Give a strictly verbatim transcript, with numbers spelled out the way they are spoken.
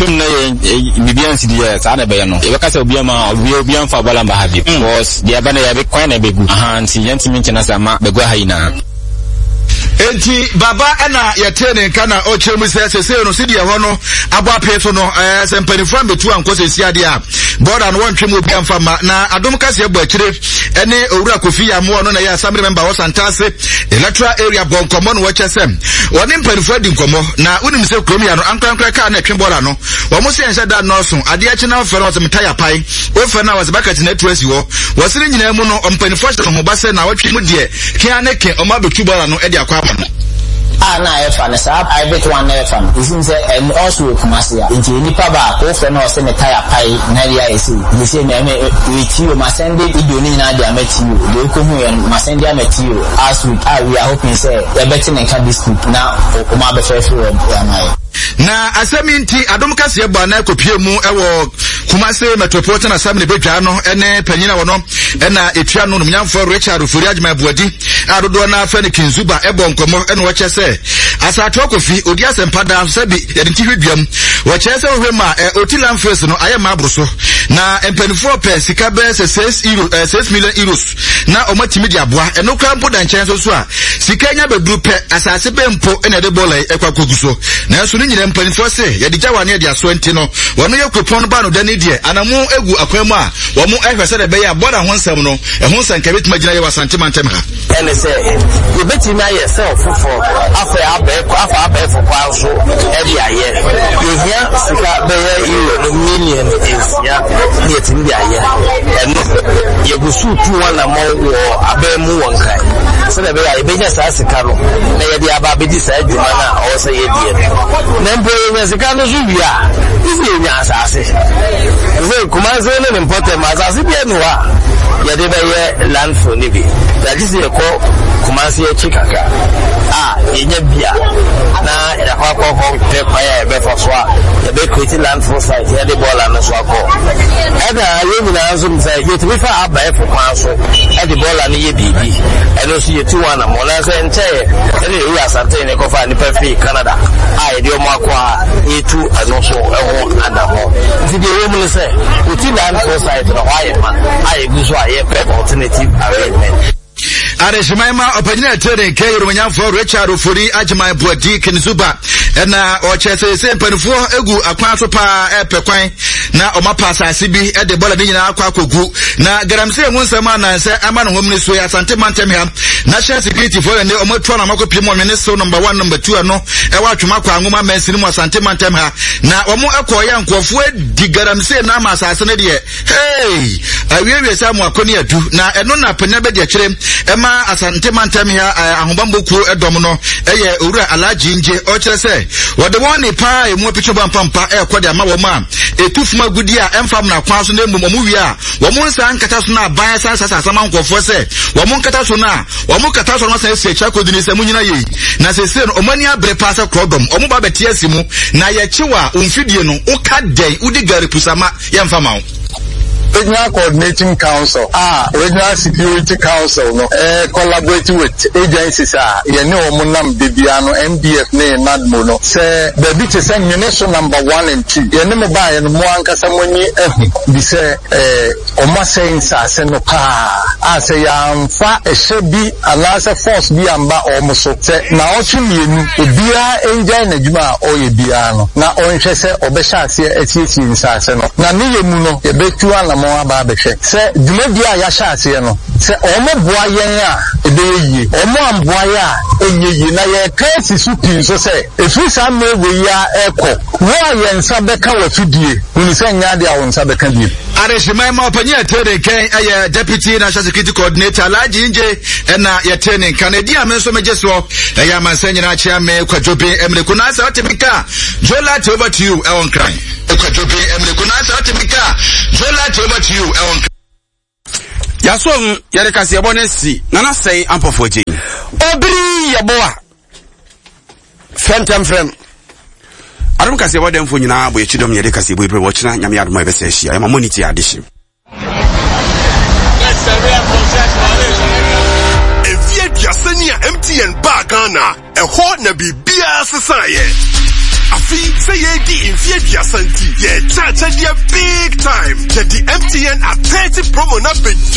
Yɛhwɛ mu na yɛ biribiara nsi deɛ saa na ɛbɛyɛ no, yɛbɛka sɛ obiara ma obiara obiara mfa bɔɔla mba ha bio, because deɛ ɛba no yɛbɛ kwan na ɛbɛgu aha, nti yɛntumi nkyɛn ase ama bɛgu aha nyinaa. Enti baba ɛna yɛtee ne nka na ɔkyerɛ mu sɛ sesei no sɛdeɛ ɛhɔ no abɔ apee so no, ɛɛ sɛ mpanimfoɔ ambɛtu ankɔ sɛsi adeɛ a bɔɔda no wɔntwe mu obi amfa mma. Na Adom kaseɛ bɔ akyire ɛne Owura Kofi Yamoɔ no na ɛyɛ assembly member wɔ Santase electoral area bɔ nkɔmmɔ no, wɔkyɛ sɛ wɔne mpanimfoɔ adi nkɔmmɔ. Na wonim sɛ kurom ya no ankorankora kaa na ɛtwe bɔɔla no, wɔn sɛ yɛnhyɛ da nnɔɔso. Adeɛ akyi na wɔfɛ no wɔsɛ metaya pae, wofɛ no a wɔsɛ bakati na atu asi hɔ. Wɔse ne nyinaa mu no, mpanimfoɔ hyɛ no ho ba sɛ na wɔtwe mu deɛ kea ne ke ɔmo abɛtu bɔɔla no de akɔ ama no. A na ɛfa no saa private one na ɛfa no, esim sɛ ɛno ɔso wɔ Kumase a, nti nipa baako wofrɛ no ɔsɛ ne tire pae na ɛde ayɛ sei nti sɛ mɛ mɛ ɛti o, ma send video ne nyinaa de ama ti o, deɛ okohu yɛ no ma send ama ti o last week a we are hoping sɛ yɛbɛte ne nka this week na ɔmo abɛfɛɛfɛ wɔ ama yɛ. Na asɛm yi nti Adom kaseɛ bɔ anan kɔpie mu wɔ Kumase Metropolitan Assembly badwa no ne panyin a wɔno ɛna ɛtua no, nomnyamfoɔ Richard Ofori Agyeman Boadi a dodoɔ no afɛ no Kinzuba, ɛbɔ nkɔmmɔ. Ɛna wɔkyɛ sɛ Asatoɔ Kofi ɔdi asɛmpa daa so sɛ bi yɛde nti hwɛ duam. Wɔkyerɛ sɛ wohwɛ mu a ɔti landfills no ayɛ ma aboro so, na mpanimfoɔ pɛ sika bɛyɛ sɛ six euro eh, six million euros na wɔatumi de aboa. Ɛno koraa mpo da nkyɛn nso so a, sika nya bɛduru pɛ, asase bɛn mpo na ɛde bɔɔla yi ɛkɔ akɔgu so? Nanso ne nyinaa mpanimfoɔ se yɛde gya wa ne yɛde asoa, nti no wɔn yɛ kuropɔn no ba no dani deɛ anamo egu akwan mu a wɔn ɛhwɛ sɛdeɛ ɛbɛyɛ a bɔɔla ho nsɛm no ɛho nsɛnka bɛtumi agyina yɛ wɔ Asante mantam ha. Ɛne sɛ yɛbɛtumi ayɛ sɛ foforɔ afa abɛɛfo afa abɛɛfo kwan so ɛde ayɛ. Yɛhia sika bɛyɛ euro no million nsia ne yɛtumi de ayɛ ɛno. Yɛgu so tu anammɔn wɔ abɛn mu wɔ Nkran sɛdeɛ ɛbɛyɛ a yɛbɛnya saa sika no na yɛde aba abɛdi saa adwuma no a ɔwɔ sɛ yɛdeɛ no. Na mpo yɛnya sika no so wie a, ɛsɛ yɛnya asase sɛ Kumase ne ne mpɔtam asase bi ani hɔ a yɛde bɛyɛ landfill no bi. Yɛagye sɛ yɛkɔ Kumase akyi kakra a yɛnya bi a na yɛakɔ akɔkɔ pɛ kwan a yɛbɛfa so a yɛbɛ create landfill site, yɛde bɔɔla no so akɔ. Ɛna yɛn nyinaa nso sɛ yɛtumi fa abɛɛfo kwan so ɛde bɔɔla no yɛ biribi, ɛno nso yɛtu wɔn anammɔ. Na sɛ nkyɛn ɛne Ewura Asante ne kɔfa nipa firi Canada a yɛde wɔn akɔ a yɛtu ɛno nso ɛho anammɔ. Nti deɛ ɛwɔ mu no sɛ wɔti landfill site no hɔ ayɛ ma a yɛgu so a yɛpɛ alternative arrangement. Adehyeman ma ɔpanyin a ɛte ne nka Yoromanyamfoɔ Richard Ofori Agyeman Boadi Kinzuba, ɛna ɔkyerɛ sɛ sɛ mpanimfoɔ egu akwan so paa ɛpɛ kwan na ɔma pa asase bi de bɔla ne nyinaa akɔ akɔgu. Na galamsey ho nsɛm anansɛ ama ne ho mene so yɛ Asante mantam ha National Security foɔ ne ɔmo atu anam akɔpie mu ɔnwene so number one, number two, ɛno ɛwɔ Atwoma kɔ Angoma mansini mu, Asante mantam ha. Na wɔn ɛkɔɔyɛ nkurɔfoɔ di galamsey na ama asase no deɛ, hey, awiewie sɛ amoako ne adu. Na ɛno na panyin bɛdi akyire ɛma Asante mantam ha ahobammɔ kuo ɛdɔm no ɛyɛ Owura Alagye Ngye, ɔkyerɛ sɛ wɔde wɔn ne paa emu apitwa bɔ ampampa ɛrekɔ de ama wɔn a etu fam agudi a ɛmfa mmara kwan so, na mmom wɔn wie a wɔn nsa nkata so na aban san sasa asama nkurɔfoɔ sɛ wɔn nkata so, na wɔn kata so no asan esi akyire akɔdi ne sɛ mo nyina yie. Na sese no wɔn ani abere paa sɛ korɔdɔm wɔn ba bɛte asi mu na yɛkyew a wɔn mfidie no woka dɛn wodi gari pusama yɛmfa ma wo. Regional Coordinating Council a Regional Security Council no eh, collaborate with agencies a yɛne wɔn nam de bia no, N D F ne NADMO no, sɛ baabi te sɛ Nwene so number one and two, yɛne mo baeɛ no, mo ankasa mo ani ahu bi sɛ eh, ɔmo asɛe nsase no paa a sɛ yɛamfa ɛhyɛ bi anaasɛ force bi amba ɔmo so sɛ naawɔtwe mmienu, obiara ngyae n'adwuma a ɔreyɛ biara no na ɔnhwɛ sɛ ɔbɛhyɛ aseɛ asiesie nsase no. Na ne yɛ mu no, yɛbɛtu anammɔn aba abɛhwɛ sɛ dwumadie a yɛahyɛ aseɛ no, sɛ ɔmo boa yɛn a ɛbɛyɛ yie, ɔmo amboa yɛ a ɛnyɛ yie. Na yɛka asi so pii nso sɛ ɛfiri saa mmerɛ wei yi a ɛkɔ, wo a yɛn nsa bɛka w'afidie, hunu sɛ nyɛ adeɛ a wo nsa bɛka bio. Adehyeman ma ɔpanyin a ɛte ne nkan ɛyɛ Deputy National Security Coordinator Alhaji Ngye, ɛna yɛte ne nka. Na edi a me nso megye soɔ ɛyɛ amansan nyinaa kyea me Kwadwo Ben Emireko. Na sɛ ɔte me nka, Jola, over to you ɛwɔ Nkran. Kwadwo Ben Emireko, na sɛ ɔte me nka, Jola, over to you ɛwɔ Nkran. Yasom yɛde kaseɛbɔ no si Nana Sɛe Ampɔfoɔ gye. Obiri yɛbɔ a frɛmtɛmfrɛm. Adom kaseɛbɔ dɛmfo nyinaa bɔ yɛkyi dɔm. Yɛde kaseɛbɔ yi berɛ wɔkyena Nyame adom a yɛbɛsɛ ahyia. Yɛma mɔne tie adehye. Mfeɛ aduasa ni a M T N baa Ghana, ɛhɔ na biribiara sesaeɛ. Afei sɛ yɛredi mfeɛ aduasa nti, yɛkyɛ akyɛdeɛ big time. Yɛde M T N at thirty promo na bɛdwa.